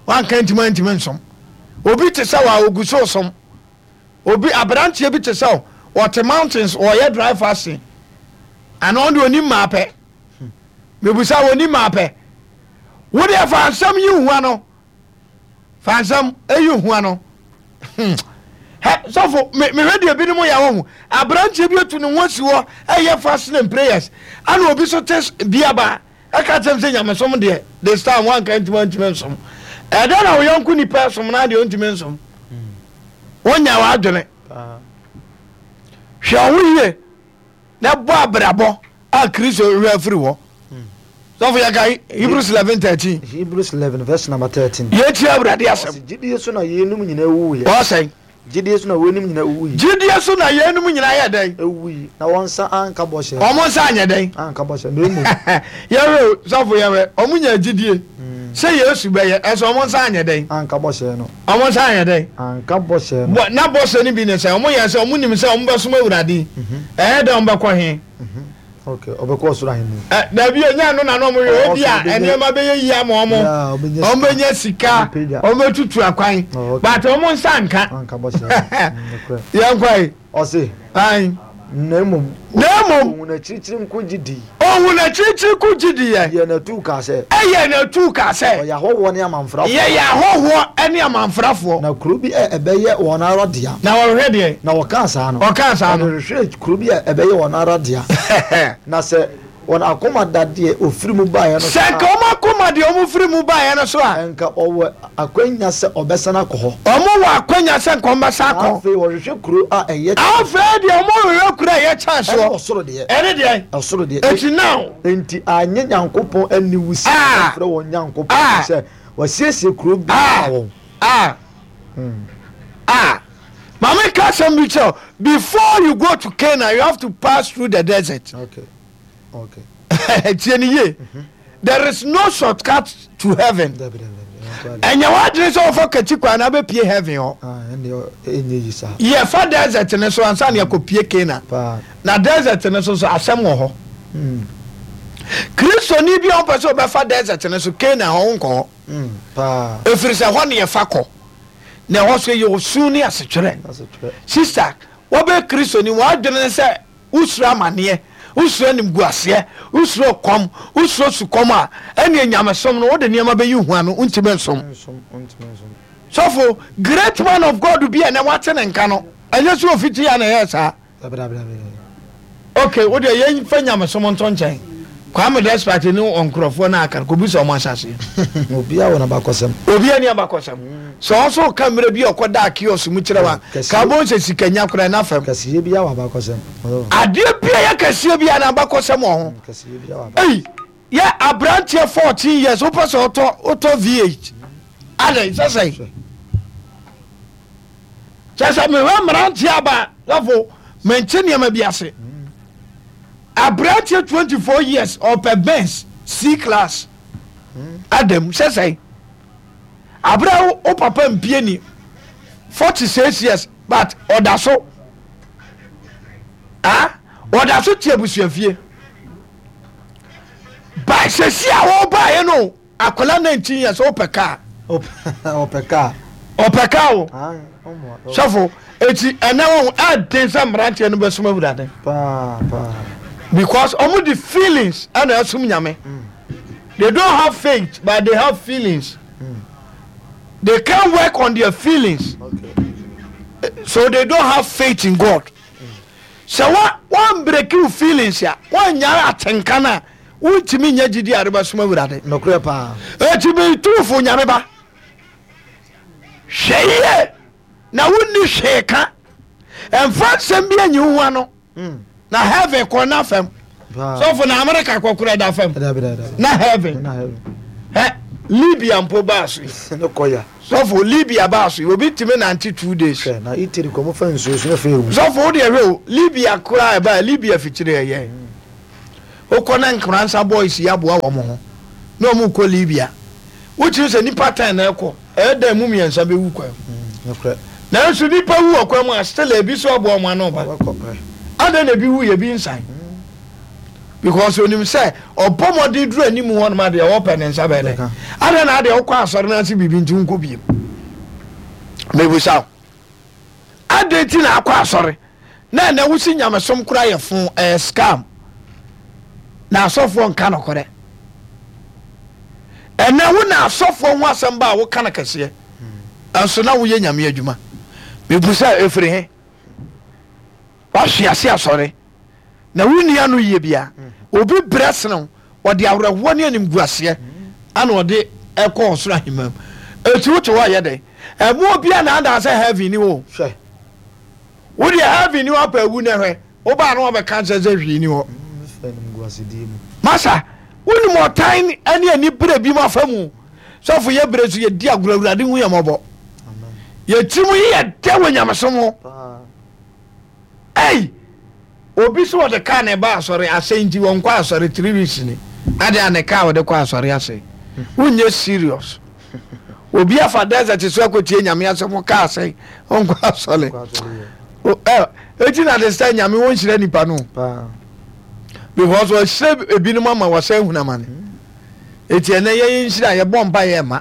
Wanka ntimi antimi nsom. Obi te sɛ wa ogu so som. Obi aberanteɛ bi te sɛ ɔte mountains ɔyɛ dry fasting. Ana ɔno deɛ onim maa pɛ. Mebusa onim maa pɛ. Wo deɛ fa nsɛm yi wo ho ano. Fa nsɛm yi wo ho ano. Hmm. Hɛ sɔfo me mehwɛ deɛ binom yɛ wɔ ho. Aberanteɛ bi atu ne ho asi hɔ ɛyɛ fasting and prayers. Ana obi so te biaba ɛka kyerɛ m sɛ nyamesom deɛ this time wanka ntumi antumi nsom. Ɛdɛn na wo yɔnko nipa som na deɛ ɔntumi nsom. Wonya w'adwene. Hwɛ wo ho yie na bɔ abrabɔ a Kristo hwɛ afiri hɔ. Sɔfo yɛ ka Hebrews eleven thirteen. Hebrews eleven verse number thirteen. Yɛtie Awurade asɛm. Ɔsi gyidie so na yeinom nyinaa wuiɛ. Ɔsɛn. Gyidie so na weinom nyinaa wuiɛ. Gyidie so na yeinom nyinaa yɛ dɛn? Ewui na wɔn nsa anka bɔhyɛ. Wɔn nsa anyɛ dɛn? Anka bɔhyɛ na emu. Yɛhwɛ o sɔfo yɛhwɛ wɔn nya gyidie sɛ Yesu bɛyɛ ɛsɛ wɔn nsa anyɛ dɛn? Anka bɔhyɛ no. Wɔn nsa anyɛ dɛn? Anka bɔhyɛ no. Bɔ na bɔhyɛ no bi ne sɛ wɔn yɛ sɛ wɔn nim sɛ wɔn bɛsom Awurade. Ɛyɛ dɛ wɔn bɛkɔ he? Okay, ɔbɛkɔ ɔsoro ahenni. Ɛ dabi enya no na na wɔn yɛ obi a nneɛma bɛyɛ yie ama wɔn. Wɔn bɛnya sika, wɔn bɛtutu akwan. But wɔn nsa nka. Anka bɔhyɛ no. Yɛn kɔ yi. Ɔse. Ayi. Na mmom. Na mmom. Ohun akyirikyiri nko gye di. Ohun akyirikyiri ko gye di yɛ. Yɛ n'atuu kaa sɛ. Ɛyɛ n'atuu kaa sɛ. Ɔyɛ ahɔhoɔ ne amanfrafoɔ. Yɛyɛ ahɔhoɔ ne amanfrafoɔ. Na kuro bi a ɛbɛyɛ wɔn ara dea. Na wɔhwehwɛ deɛ. Na wɔkaa saa no. Ɔkaa saa no. Wɔhwehwɛ kuro bi a ɛbɛyɛ wɔn ara dea. Na sɛ wɔn akoma da deɛ ofiri mu baeɛ no so Sɛ nka wɔn akoma deɛ wɔn firi mu baeɛ no so a. Nka ɔwɔ akwanya sɛ ɔbɛsan akɔ hɔ. Wɔn wɔ akwanya sɛ nka wɔn bɛsan akɔ. Afei wɔhwehwɛ kuro a ɛyɛ. Afei deɛ wɔn hwehwɛ kuro a ɛyɛ kyɛn soɔ. Ɛne ɔsoro deɛ. Ɛne deɛ. Ɔsoro deɛ. Eti now. Enti anyɛ Nyankopɔn aniwu sɛ ɔfrɛ wɔn Nyankopɔn sɛ wɔasiesie kuro bi ama wɔn. Ah. Ah. Maame ka asɛm bi kyerɛ before you go to Canaan you have to pass through the desert. Okay. Okay. Tie ni yie. There is no shortcut to heaven. Ɛnyɛ w'adwene sɛ wɔfa kakyi kwan na abɛpie heaven hɔ. Yɛfa desert ne so ansa na yɛkɔpie Canaan. Na desert ne so so asɛm wɔ hɔ. Kristoni bi a wɔpɛ sɛ wɔbɛfa desert ne so Canaan hɔ nkɔ hɔ. Ɛfiri sɛ hɔ ne yɛfa kɔ. Na ɛhɔ so yɛ osu ne asetwerɛ. Sister, wɔbɛ Kristoni w'adwene ne sɛ wosuro amanneɛ, wosuro animguaseɛ, wosuro kɔm, wosuro sukɔm a, ɛne nyamesom no wode nneɛma bɛyi hu ano wontumi nsom. Sɔfo, great man of God bi a na wate ne nka no, ɛnyɛ sɛ ofiti a na ɛyɛ saa. Okay, wo deɛ yɛmfa nyamesom nto nkyɛn. Kwame Despite ne nkurɔfoɔ no aka no kɔbi sɛ ɔmo ahyɛseɛ. Obiara wɔ n'abakɔsɛm. Obiara ni abakɔsɛm. Sɛ ɔnso ka mmerɛ bi a ɔkɔda kiosk mu kyerɛ wa ka bɔ sɛ sika nya koraa na fam. Kɛseɛ biara wɔ abakɔsɛm. Adeɛ bi a yɛ kɛseɛ bi a n'abakɔsɛm wɔ ho. Kɛseɛ biara wɔ abakɔsɛm. Ei, yɛ aberanteɛ fourteen years wopɛ sɛ ɔtɔ wotɔ V eight. Adɛn sɛ sɛn? Kyɛ sɛ mehwɛ mmeranteɛ aba lɔfo mente nneɛma bi ase. Aberanteɛ twenty four years ɔpɛ Benz C class. Adam sɛ sɛn? Abere wo papa mpie ni forty six years but ɔda so ah ɔda so te abusuafie. By sɛsi a wɔbaeɛ no akwadaa nineteen years ɔpɛ kaa. Ɔpɛ kaa. Ɔpɛ kaa o. Sɔfo eti ɛnɛ wɔn ɛden sɛ mmeranteɛ no bɛsom Awurade. Paa paa. Because wɔn de feelings ɛna ɛsom Nyame. They don't have faith but they have feelings. Mm. They can't work on their feelings. Okay. So they don't have faith in God. Sɛ wa wɔn break you feelings a wɔn nya atenka na wontumi nya gyidi a rebɛsom Awurade. Nokorɛ paa. Eti mi tuufo Nyame ba. Hwɛ yie na wonni hwee ka. Ɛmfa nsɛm bi anyi wo ho ano. Na heaven kɔ na fam. Sɔfo na America kɔ kora da fam. Na heaven. Ɛ Libya mpo baa so yi. Ne kɔya. Sɔfo, Libya baa so yi, obi tumi nante two days. Hwɛ, na Italy kɔ mo fa nsuo so na fɛ ewu. Sɔfo, wo deɛ hwɛ o, Libya koraa ɛbaa, Libya fikyire ɛyɛ. Wokɔ na Nkoransa boys yi aboa wɔn ho na wɔn kɔ Libya. Wokyerɛ sɛ nipa ten na ɛkɔ, ɛyɛ dan mu mmiɛnsa bɛwu kwan mu. Nokorɛ. Nanso nipa wu wɔ kwan mu a, still ebi so aboa wɔn ano ba. Wɔbɛkɔ, hwɛ. Adɛn na ebi wu yɛ ebi nsan? Because onim sɛ ɔbɔ mmɔden duru anim hɔ nom adeɛ ɔpɛ ne nsa bɛyɛ dɛ. Adɛn na adeɛ wokɔ asɔre no ase biribi nti wonkɔ biem? Mebusa wo. Adɛn nti na akɔ asɔre na ɛnɛ wosi nyamesom koraa yɛ fo, ɛyɛ scam, na asɔfoɔ nka nokorɛ? Ɛnɛ wo na asɔfoɔ ho asɛm ba a woka no kɛseɛ, ɛnso na woyɛ nyame adwuma. Mebusa, ɛfiri he? Wahwe ase asɔre na wo nua no yie bia, obi brɛ sene wo, ɔde awerɛhoɔ ne animguaseɛ ana ɔde ɛkɔ ɔsoro ahemman mu. Eti wote hɔ yɛ dɛn? Ɛmo obi a naadaa sɛ heaven ni hɔ. Hwɛ. Wo deɛ heaven ni hɔ apɛ awu na hwɛ, wobaa na wɔbɛka nkyɛn sɛ hwee ni hɔ. Masa, wonim ɔtan ne ani berɛ bi mu afa mu. Sɔfo yɛ berɛ so yɛdi agorɔ, Awurade hu yɛ mmɔbɔ. Yɛtirim yi yɛ dɛ wɔ nyamesom ho. Ei! Obi so wɔde kaa na ɛba asɔre asɛe nti wɔnkɔ asɔre three weeks ni. Ade a ne kaa wɔde kɔ asɔre asɛe. Wonyɛ serious. Obi afa desert so akɔtie nyame asɛm kaa asɛe ɔnkɔ asɔre. Eti na de sɛ nyame wɔnhyira nipa no. Because ɔhyira ebinom ama wɔsɛn hunamane. Eti ɛnɛ yɛyɛ nhyira yɛbɔ mpa yɛ ma.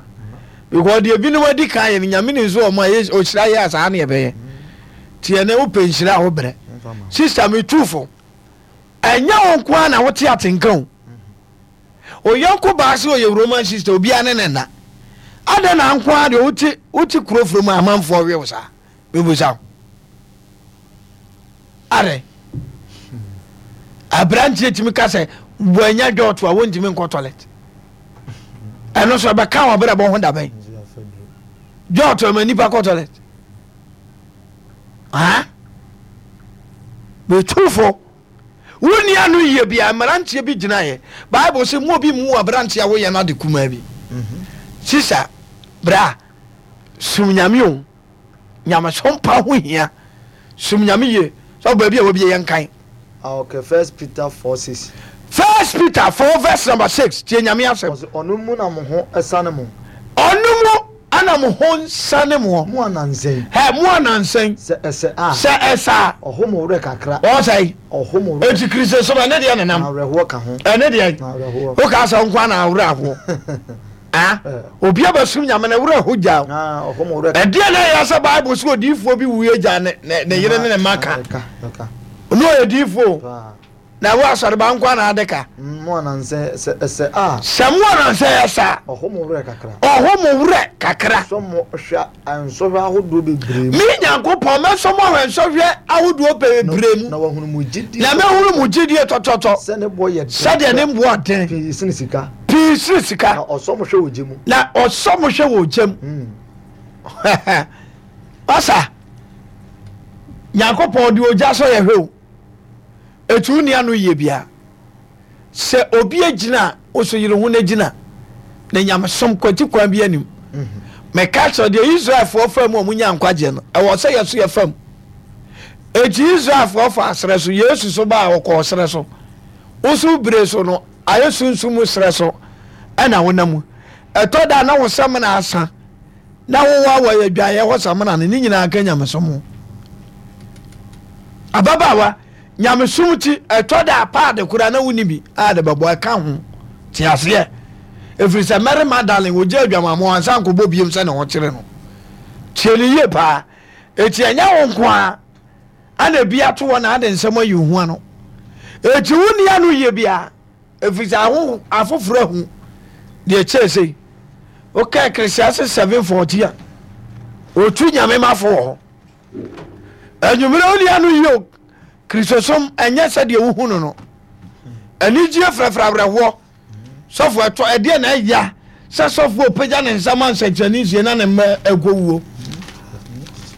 Because deɛ ebinom adi kan yɛ no nyame ne nso ɔmo a ɔhyira yɛ a saa ne yɛbɛyɛ. Ti ɛnɛ wopɛ nhyira a wobrɛ. Sister me tu fo. Ɛnyɛ wo nko ara na wote atenka o. Oyɔnko baa sɛ ɔyɛ Roman sister obiara ne ne nna. Adɛn na nko ara deɛ wote wote kuro foro mu a amanfoɔ we wo saa? Mebusa wo. Adɛn? Aberanteɛ tumi ka sɛ wɔanya dwɔɔto a wɔntumi nkɔ toilet. Ɛno nso ɛbɛka wɔn abrabɔ ho dabɛn. Dwɔɔto ɛma nipa kɔ toilet. Ha? Metufo. Wo nua no yie bia mmeranteɛ bi gyinaeɛ. Bible sɛ mu obi mu aberanteɛ a woyɛ no ade kumaa bi. Sisa, bra, sum nyame o. Nyamesom pa ho hia. Som nyame yie. Sɛ baabi a wabie yɛn kan. Ah, okay. First Peter four six. First Peter four verse number six. Tie nyame asɛm. Ɔsɛ ɔno mu na mo ho sane mo. Ɔno mu ana mo ho nsane mo. Mo anansɛn. Hɛ mo anansɛn. Sɛ ɛsɛ a. Sɛ ɛsɛ a. Ɔho mo werɛ kakra. Ɔsɛe. Ɔho mo werɛ. Eti Kristo som ɛne deɛ nenam. Na awerɛhoɔ ka ho. Ɛne deɛ. Na awerɛhoɔ. Woka sɛ nko ana awerɛ ahoɔ. Ah, obi abɛsom nyame na werɛ ho gya. Ɛdeɛ na ɛyɛ sɛ Bible sɛ odiyifoɔ bi wuiɛ gya ne ne yere ne ne mma ka. Ɔno ɔyɛ diyifoɔ na wo asɔreba nko ana ade ka. Mo anansɛ sɛ ɛsɛ a. Sɛ mo anansɛ ɛsɛ a. Ɔho mo werɛ kakra. Ɔho mo werɛ kakra. Sɔ mo hwɛ nsɔhwɛ ahodoɔ bebree mu. Me Nyankopɔn mɛsɔ mo ahwɛ nsɔhwɛ ahodoɔ bebree mu. Na wahunu mo gyidie. Na mɛhunu mo gyidie tɔtɔtɔ. Sɛ ne boɔ yɛ den. Sɛdeɛ ne boɔ den. Pii sene sika. Pii sene sika. Na ɔsɔ mo hwɛ wɔ gya mu. Na ɔsɔ mo hwɛ wɔ gya mu. Ɔsa Nyankopɔn de ogya sɔ yɛ hwɛ o. Etu nni ano yie bia. Sɛ obi agyina a, wo so yere ho no gyina. Na nyamesom kwati kwan bi anim. Meka kyerɛ deɛ Israelfoɔ fa mu a wɔnya nkwagyeɛ no, ɛwɔ sɛ yɛ so yɛfa mu. Eti Israelfoɔ fa serɛ so, Yesu so baa ɔkɔɔ serɛ so. Wo so bere so no, ayɛ sunsum mu serɛ so ɛna wonam mu. Ɛtɔ da na wo samina asa na wowɔ wɔ adwaeɛ hɔ samina no, ne nyinaa ka nyamesom ho. Ababaawa, nyamesom ti ɛtɔ da paade koraa na wonni bi a de bɛbɔ ɛka ho. Te aseɛ. Ɛfiri sɛ Mary Magdalene wɔgya adwamammɔ ansa nkɔbɔ biem sɛ ne ho kyere no. Tie ne yie paa. Eti ɛnyɛ wo nko ara ana ebi ato hɔ na ade nsɛm ayi wo ho ano. Eti wo nni ano yie biara. Ɛfiri sɛ aho afoforɔ ahu deɛ kyɛɛ sei. Woka Ecclesiastes seven fourteen a, ɔtu nyame mafo wɔ hɔ. Anwummerɛ wo nni ano yie o. Kristosom ɛnyɛ sɛdeɛ wohu no no. Anigyeɛ frɛfrɛ awerɛhoɔ. Sɔfo ɛtɔ ɛdeɛ na ɛya sɛ sɔfo ɔpagya ne nsa ma nsɛnkyerɛnne nsie na ne mma ɛkɔ wuo.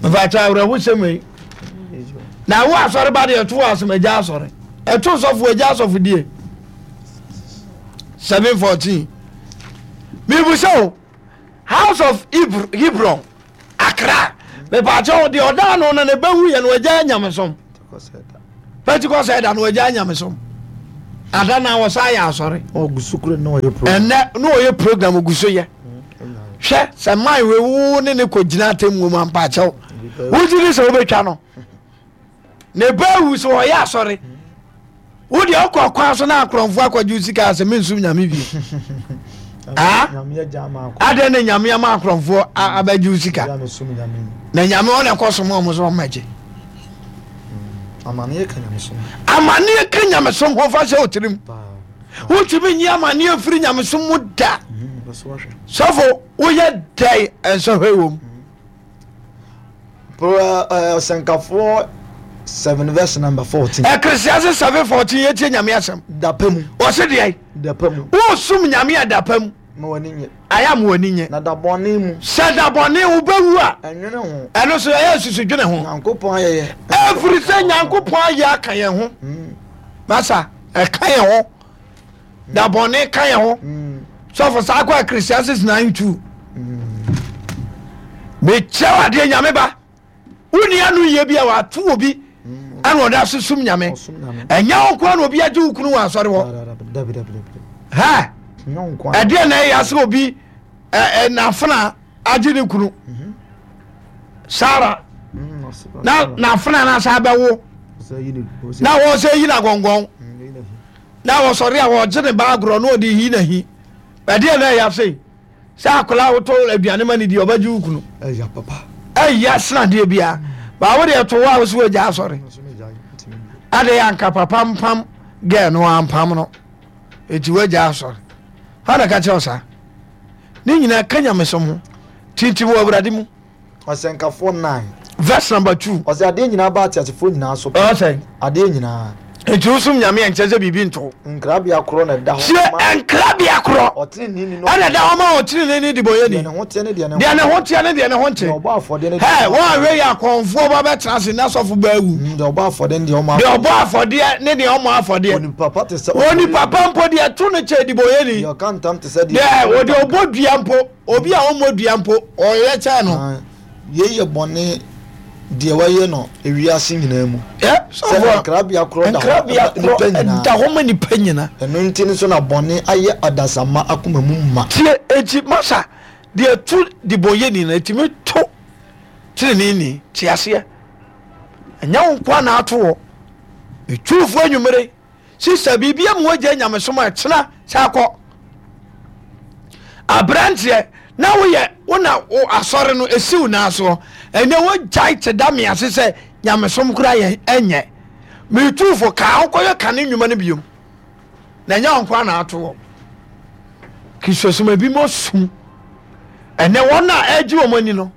Mfakyɛ awerɛhosɛm yi. Na wo asɔre ba deɛ ɛto wɔ asɛm agya asɔre. Ɛto sɔfo agya asɔfo die. seven fourteen. Mebusa o, House of Hebron, Accra, mepaakyɛ wo, deɛ ɔda ano no ne bɛwu yɛ no wagya nyamesom. Pentecost ɛda no wagya nyamesom. Ada na wɔsa yɛ asɔre. Ɛnɛ na ɔyɛ program ogu so yɛ. Hwɛ sɛ man wei wo ne ne kɔ gyina atemmuo mu ampaakyɛw. Wogye di sɛ wobɛtwa no. Ne bɛwu sɛ ɔyɛ asɔre. Wo deɛ ɔkɔ kwan so na akorɔmfoɔ akɔgye wo sika sɛ mensum nyame bio. Adɛn na nyame ama akorɔmfoɔ abɛgye wo sika? Na nyame ɔna ɛkɔ som ɔmo so ɔmmɛgye. Amaneɛ ka nyamesom. Amaneɛ ka nyamesom ho fa hyɛ wo tirim. Wontumi nyi amaneɛ mfiri nyamesom mu da. Sɔfo woyɛ dɛn nsɔhwɛ wɔ mu. Ɔsɛnkafoɔ seven verse number fourteen. Ecclesiastes seven fourteen yɛ tie nyame asɛm. Dapa mu. Ɔsi deɛ. Dapa mu. Wosum nyame a dapa mu. Ma w'ani nye. Ayɛ ama w'ani nye. Na da bɔne mu. Sɛ da bɔne wobɛwu a. Ɛnwene ho. Ɛno so ɛyɛ nsusu dwene ho. Nyankopɔn ayɛyɛ. Ɛfiri sɛ Nyankopɔn ayɛ aka yɛn ho. Masa ɛka yɛn ho. Da bɔne ka yɛn ho. Sɔfo saa kɔ Ecclesiastes nine two. Mekyerɛ wo adeɛ nyame ba. Wonni ano yie bi a wato obi ɛna ɔda so som nyame. Ɛnyɛ wo nkoa na obi agye wo kunu wɔ asɔre hɔ. Ha ɛdeɛ na ɛyɛ sɛ obi n'afena agye ne kunu Sara na n'afena no asa bɛwo na wɔsɛ yi na gɔngɔn na wɔsɔre a wɔgye ne ba agorɔ na ɔde yi n'ahi. Ɛdeɛ na ɛyɛ sɛ sɛ akwadaa wotɔ aduane ma ne di ɔbɛgye wo kunu ɛyɛ sena adeɛ biara baa wo deɛ to hɔ a wo so wagya asɔre ade anka papa mpam gɛɛ no ampam no eti wagya asɔre hɔ na ka kyerɛ wo saa ne nyinaa ka nyamesom ho tintim wɔ awurade mu. Ɔsɛnkafoɔ nine. Verse number two. Ɔsɛ adeɛ nyinaa ba ateasefoɔ nyinaa so. Ɔsɛ. Adeɛ nyinaa. Nti wosom nyame a nkyɛ sɛ biribi nto. Nkrabea korɔ na ɛda hɔ. Tie nkrabea korɔ. Ɔteneneeni no. Ɛna ɛda hɔ ma ɔteneneeni debɔyɛni. Deɛ ne ho teɛ ne deɛ ne ho. Deɛ ne ho teɛ ne deɛ ne ho nte. Deɛ ɔbɔ afɔdeɛ ne deɛ. Hɛ wɔn a wei yɛ akɔnfoɔ ba bɛtena ase na sɔfo bɛ awu. Mm, deɛ ɔbɔ afɔdeɛ ne deɛ ɔmɔ afɔdeɛ. Deɛ ɔbɔ afɔdeɛ ne deɛ ɔmɔ afɔdeɛ. Onipa pa te sɛ. Onipa pa mpo deɛ to no kyɛ debɔyɛni. Deɛ ɔka ntam te sɛ deɛ. Deɛ ɔde ɔbɔ dua mpo. Obi a ɔmmɔ dua mpo, ɔyɛ kyɛn no. Yei yɛ bɔne deɛ wɔyɛ no ewiase nyinaa mu. Sɛ nkrabea korɔ da hɔ ma nnipa nyinaa. Da hɔ ma nnipa nyinaa. Ɛno nti nso na bɔne ayɛ adasamma akoma mu ma. Tie, enti masa, deɛ ɛto debɔnyɛni no, ɛtumi to teneneeni. Te aseɛ? Ɛnyɛ wo nkoa na ato hɔ. Metuufoɔ anwummere. Sista, biribi ama wagya nyamesom a ɛtena sɛ akɔ. Aberanteɛ, na woyɛ wo na wo asɔre no esi wo nan soɔ. Ɛnɛ wogyae te da me ase sɛ nyamesom koraa yɛ ɛnyɛ. Metuufo kaa wokɔyɛ kane nnwuma no biom. Na ɛnyɛ wo nkoa na ato hɔ. Kristosom ebi mo sum. Ɛnɛ wɔn a ɛgye wɔn ani no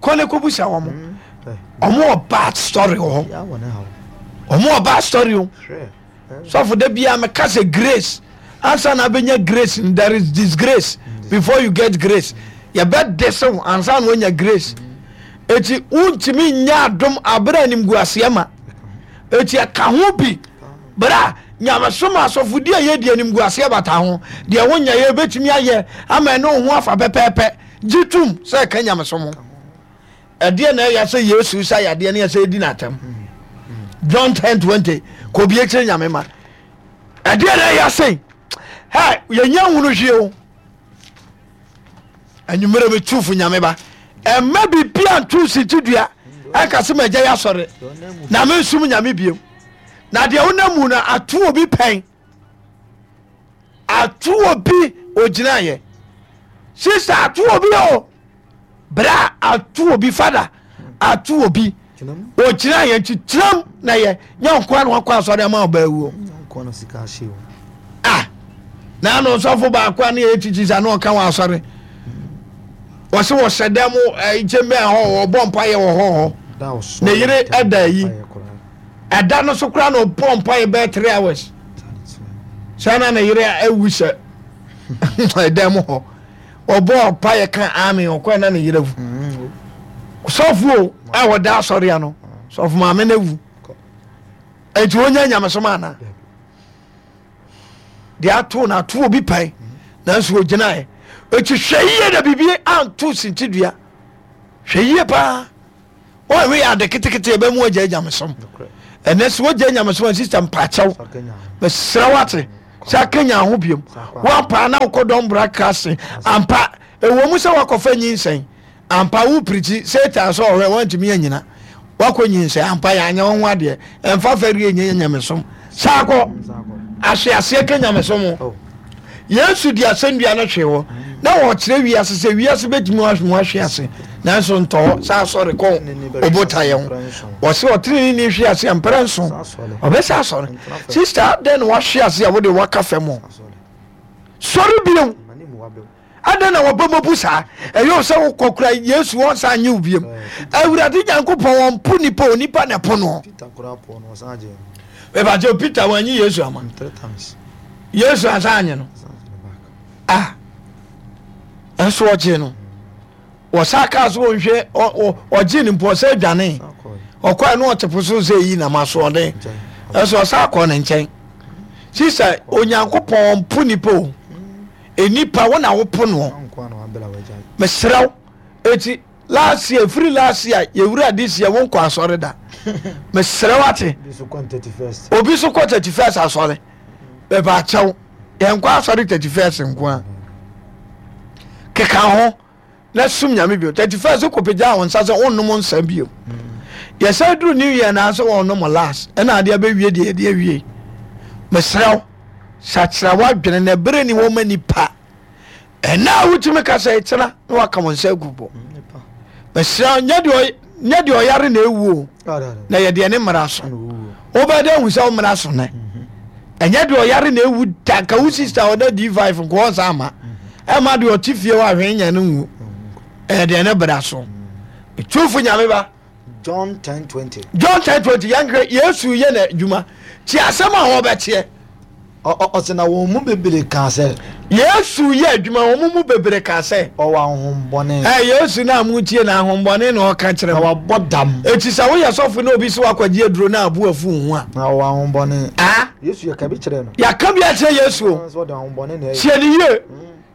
kɔ ne kɔbusa wɔn. Wɔn wɔ bad story wɔ hɔ. Wɔn wɔ bad story o. Sɔfo da biara meka sɛ grace ansa na abɛnya grace there is disgrace before you get grace. Yɛbɛ dese wo ansa na woanya grace. Eti wontumi nya adom abere animguaseɛ ma. Eti ɛka ho bi bra nyamesom asɔfodi a yɛdi animguaseɛ bata ho. Deɛ wonya yɛ bɛtumi ayɛ ama ɛne wo ho afa pɛpɛɛpɛ. Gye tom sɛ ɛka nyamesom ho. Ɛdeɛ na ɛyɛ sɛ Yesu sa yadeɛ ne ɛsɛ ɛdi n'atɛm. John ten twenty kò bi ekyir nyame ma. Ɛdeɛ na ɛyɛ sɛ hɛ yɛnyɛ nhunu hwie o. Anwummerɛ mi tu fo nyame ba. Ɛmma biribi anto nsikyi dua ɛnka sɛ magya yɛ asɔre na mensum nyame biom. Na deɛ wonam mu no ato obi pɛn. Ato obi ogyinaeɛ. Sista ato obi o. Bra ato obi fada ato obi ogyina yɛn nti tiram na yɛ nyɛ nkoa na wakɔ asɔre ama ɔbaa wuo ah na ano nsɔfo baako a ne yɛ tikyi sa na ɔka wɔ asɔre wɔsi wɔhyɛ dɛm nkyɛn bɛn hɔ wɔbɔ mpa yɛ wɔ hɔ hɔ ne yere ɛda yi ɛda no so koraa na ɔbɔ mpa yɛ bɛyɛ three hours sɛ na ne yere awu sɛ ɛdan mu hɔ. Ɔbɔɔ mpaeɛ ka amen ɔkɔɛ na ne yerɛ awu. Sɔfo a wɔda asɔre ano sɔfo maame no awu. Enti wonya nyamesom ana? Deɛ ato no ato obi pɛn nanso ogyinaeɛ. Eti hwɛ yie na biribi anto sintidua. Hwɛ yie paa. Wɔnhwɛ yɛ ade ketekete ɛbɛmu agya nyamesom. Ɛnɛ sɛ wogya nyamesom a, sister, mpakyɛw, mesrɛ wate sɛ akanya ho biom. Woampa na wokɔ dɔmbra kase ampa, ɛwɔ mu sɛ woakɔfa nyinsɛn ampa, wo pirikyi Satan sɛ ɔhwɛ woantumi anyina, woakɔ nyinsɛn ampa, yɛanyɛ wo ho adeɛ. Ɛmfa fɛreɛ nyɛ nyamesom saa kɔ ahweaseɛ ka nyamesom ho. Yesu de asɛnnua no hwee hɔ na wɔkyerɛ wiase sɛ wiase bɛtumi ahwe ahwe ase, nanso ntɔ hɔ saa, asɔre kɔ ɔbotaeɛ ho. Wɔsɛ ɔtenene ne hwe ase a mprɛ nson ɔbɛsɛ asɔre. Sister, adɛn na wahwe ase a wode waka fam hɔ? Sɔre bio. Adɛn na wɔbɛ mɔbu saa? Ɛyɛ wo sɛ wokɔ kora Yesu wɔnsa nye wo biom. Awurade Nyankopɔn wɔmpo nipa, onipa na ɛpo no. Mepakyɛ, Peter wanyi Yesu ama, Yesu ansa anye no a, ɛnso ɔgye no. Wɔsa kaa so wɔnhwɛ, ɔgye no mpo ɔsɛ dwane ɔkɔɛ no, ɔte po so sɛ yi nam asoɔden, ɛnso ɔsa akɔ ne nkyɛn. Sisa, Onyankopɔn mpo nipa o, nipa wo na wopo noɔ. Mesrɛ wo, eti last year, firi last year yɛwura this year, wonkɔ asɔre da. Mesrɛ wo ate, obi so kɔ thirty first asɔre. Bɛbɛ akyɛw, yɛnkɔ asɔre thirty first nko a, keka ho na sum Nyame bio. Thirty first kɔpagya wo nsa sɛ wonnom nsa bio. Yɛsɛ duru New Year na sɛ wɔnom last, ɛna adeɛ bɛwie deɛ yɛde awie. Mesrɛ wo, sakyera w'adwene na ɛberɛ ni wɔma nipa. Ɛna a wotumi ka sɛ ɛkyena na waka wɔn nsa agu bɔ. Mesrɛ, nyɛ deɛ ɔyare na ɛwu o, na yɛ deɛ ne mmara so. Wobɛdɛ hu sɛ wo mmara so nɛ. Ɛnyɛ deɛ ɔyare na ɛwu da. Nka wo sister ɔda D five nka ɔnsa ama ɛma deɛ ɔte fie hɔ ahwɛ nya no nwu. Ɛyɛ deɛ ne bra so. Tumfo Nyame ba. John ten twenty. John ten twenty. Yɛnhwɛ Yesu yɛ na adwuma ti asɛm a wɔbɛteɛ. Ɔsɛ na wɔn mu bebree kaa sɛ. Yesu yɛ adwuma, wɔn mu bebree kaa sɛ. Ɔwɔ ahohombɔne. Ɛ Yesu na mo tie na ahohombɔne na ɔka kyerɛ na mo. Wabɔ dam. Eti sɛ woyɛ sɔfo na obi sɛ wakɔgye aduro na abu afu ho a. Na ɔwɔ ahohombɔne. A Yesu yɛ ka bi kyerɛ no. Yɛaka bi akyerɛ Yesu o. Sɛ ɔde ahohombɔne na ɛyɛ. Sie ne yie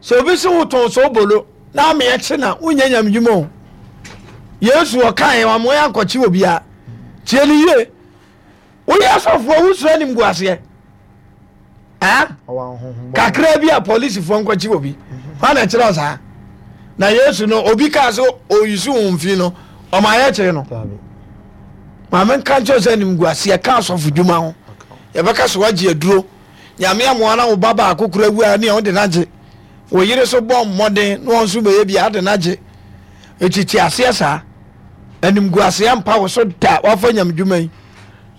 sɛ obi sɛ wotɔn sɛ obolo na ameɛ kye na wonyɛ nyamedwuma o. Yesu ɔkae wamoa yɛ ankɔkye obiara. Tie ne yie, woyɛ sɔfoɔ wosuro anim gu aseɛ kakra bi a polisifoɔ nkɔkye obi hɔ na kyerɛ saa. Na Yesu no, obi kaa sɛ ɔyisu wo mfi no, ɔma yɛ kyee no. Maame nka nkyerɛ sɛ anim gu aseɛ ka asɔfo dwuma ho. Yɛbɛka sɛ woagye aduro. Nyame amoa na wo ba baako kora wu a, ne wode no agye. Wo yere so bɔ mmɔden na wɔn nso bɛyɛ bi ade no agye. Ɛtiti aseɛ saa, animguaseɛ mpa wo so da. Wafa nyame dwuma yi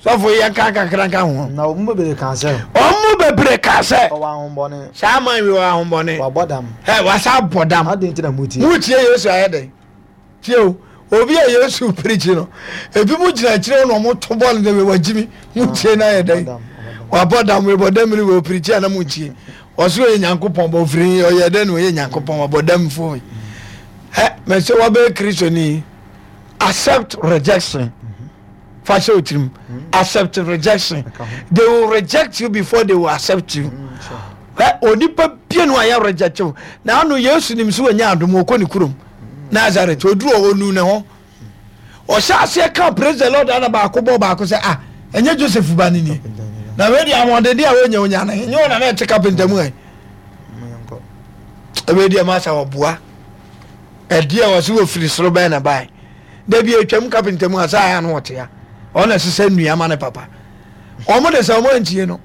sɔfo yɛ nka kakra nka ho. Na wɔn mu bebree kaa sɛ. Wɔn mu bebree kaa sɛ. Ɔwɔ ahombɔne. Saa man wi wɔ ahombɔne. Wabɔ dam. Ɛ wasa abɔ dam. Adi nti na mu tie. Mu tie Yesu ayɛ dɛ. Tie o, obi a Yesu pirikyi no, ebi mu gyina akyire na wɔn to bɔɔl no dɛ wagyi mi. Mu tie na ayɛ dɛ. Wabɔ dam, wabɔ dam ni wɔ pirikyi a na mu tie. Ɔsoro yɛ Nyankopɔn bɔ ofiri ɔyɛ dɛ na ɔyɛ Nyankopɔn wabɔ dam fo. Ɛ mɛ sɛ wabɛyɛ Kristoni, accept rejection. Fa hyɛ o tirim, accept rejection. They will reject you before they will accept you. Ɛ onipa bie no a yɛ reject you na ano. Yesu nim so wɔnya adom, wɔkɔ ne kurom Nazareth. Oduru hɔ, onu ne ho, ɔhyɛ aseɛ ka "Praise the Lord" ana baako bɔ baako sɛ, "Ah, ɛnyɛ Joseph ba ne nie? Na wei deɛ ahoɔden a wɔnya onya no nyɛ wɔn na na ɛte kapenta mu. Ɛ wei deɛ masa wɔboa ɛdeɛ wɔ so wɔfiri soro bɛn na bae dabi atwam kapenta mu a sɛ ayɛ ano ɔtea ɔna ɛsesɛ nnua ma ne papa. Wɔn de sɛ wɔn antie no,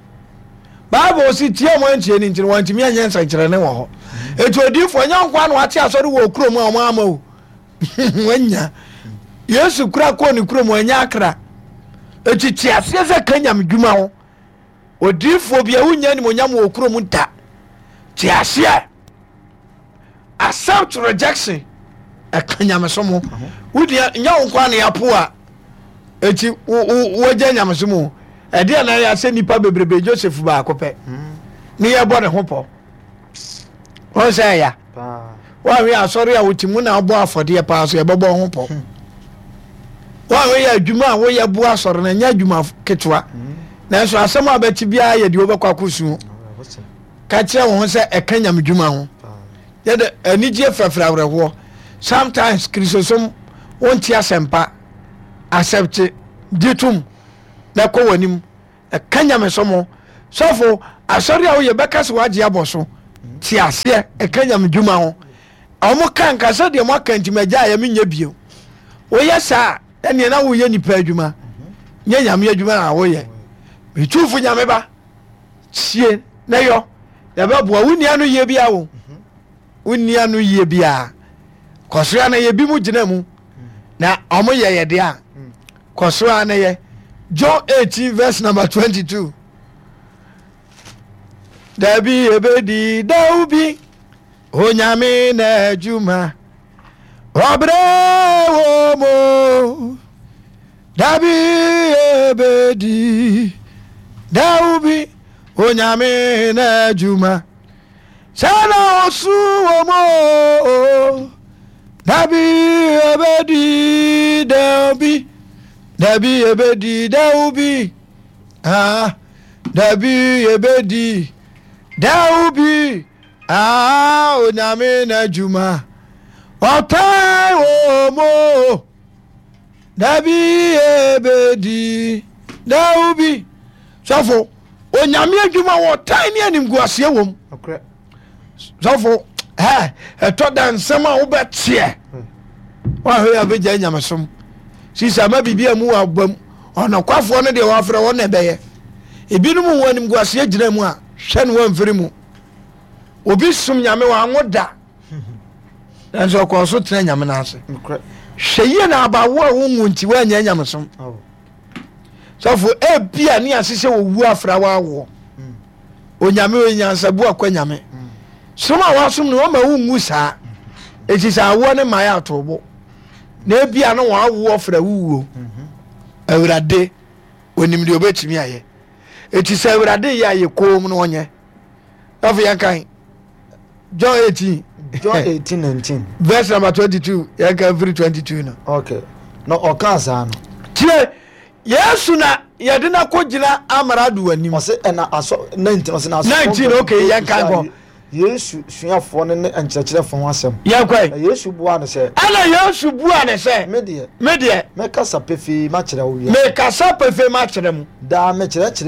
Bible si tie wɔn antie no nti no wɔntumi anyɛ nsɛnkyerɛnne wɔ hɔ. Eti odiifoɔ nyɛ nko ano ate asɔre wɔ kurom a wɔn ama o wanya. Yesu kura kɔɔ ne kurom, wanya akra. Eti te aseɛ sɛ ka nyame dwuma ho, odiifoɔ bi a wonya animonyam wɔ kurom da. Te aseɛ, accept rejection, ɛka nyamesom ho. Wodeɛ nyɛ wo nkoa ne apo a eti wogya nyamesom o. Ɛdeɛ na yɛ sɛ nipa bebrebe, Joseph baako pɛ ne yɛbɔ ne ho pɔ. Wɔn sɛ ɛya wɔahwe asɔre a wote mu na abɔ afɔdeɛ paa so yɛbɛbɔ ho pɔ. Wɔahwe yɛ adwuma a woyɛ boa asɔre no, ɛnyɛ adwuma ketewa, nanso asɛm a bɛte biara yɛ deɛ wobɛkɔ akɔsuo. Ka kyerɛ wo ho sɛ ɛka nyamedwuma ho. Yɛde anigyeɛ frɛfrɛ awerɛhoɔ. Sometimes Kristosom wonte asɛmpa, accept, gye tom na kɔ w'anim. Ɛka nyamesom ho. Sɔfo, asɔre a woyɛ bɛka sɛ wagye abɔ so. Te aseɛ, ɛka nyame dwuma ho. Ɔmo ka nka sɛ deɛ moaka nti magya ayɛ menyɛ bio. Woyɛ saa ɛneɛ na woyɛ nipa adwuma, nyɛ nyame adwuma na woyɛ. Metumfo Nyame ba, tie na yɔ, na ɛbɛboa wo nua no yie bia wo. Wo nua no yie bia. Kɔ so a na yɛ bi mu gyina mu. Na ɔmo yɛ yɛ deɛ a, kɔ so a na yɛ. John eighteen verse number twenty-two. Dabi ebedi daw bi, Onyame na adwuma, ɔbrɛ wɔ mo. Dabi ebedi daw bi, Onyame na adwuma, sɛ na ɔsu wɔ mo. Dabi ebedi daw bi, dabi ebedi daw bi, ah, dabi ebedi daw bi, ah, Onyame na adwuma, ɔtan wɔ mo. Dabi ebedi daw bi. Sɔfo, Onyame adwuma wɔ tan ne animguaseɛ wɔ mu. Sɔfo, ɛ ɛtɔ da nsɛm a wobɛteɛ woahwɛ yɛ abɛgya nyamesom sisa ma biribi a mu wɔ abam. Ɔnokwafoɔ no deɛ wɔafrɛ wɔn na ɛbɛyɛ. Ebinom wɔ animguaseɛ gyina mu a, hwɛ no wɔamfiri mu. Obi som Nyame wɔanwo da, nanso ɔkɔɔ so tena Nyame no ase. Hwɛ yie na abawo a wonwu nti woanyɛ nyamesom. Sɔfo, ebia ne ase sɛ wɔwu afra woawoɔ. Onyame ɔyɛ nyansabu akwa Nyame. Som a wasom no ɔma wonwu saa. Eti sɛ awoɔ ne mmaeɛ atoobo na ebia no wɔn awoɔ fra wuwuo. Awurade onim deɛ obetumi ayɛ. Eti sɛ Awurade yɛ ayɛ koom no ɔnyɛ. Afei yɛn kan John eighteen. John eighteen nineteen. Verse number twenty-two. Yɛn kan firi twenty-two no. Okay. Na ɔkaa saa no. Tie, Yesu na yɛde no akɔgyina amarado anim. Ɔsɛ ɛna asɔ nineteen ɔsɛ na asɔ. Nineteen, okay, yɛn kan kɔ. Yesu suafoɔ no ne nkyerɛkyerɛfoɔ ho asɛm. Yɛn kɔ yi. Na Yesu bua no sɛ. Ɛna Yesu bua ne sɛ. Me deɛ. Me deɛ. Mɛkasa pefee makyerɛ wo wiase. Mekasa pefee makyerɛ mu. Daa mekyerɛkyerɛ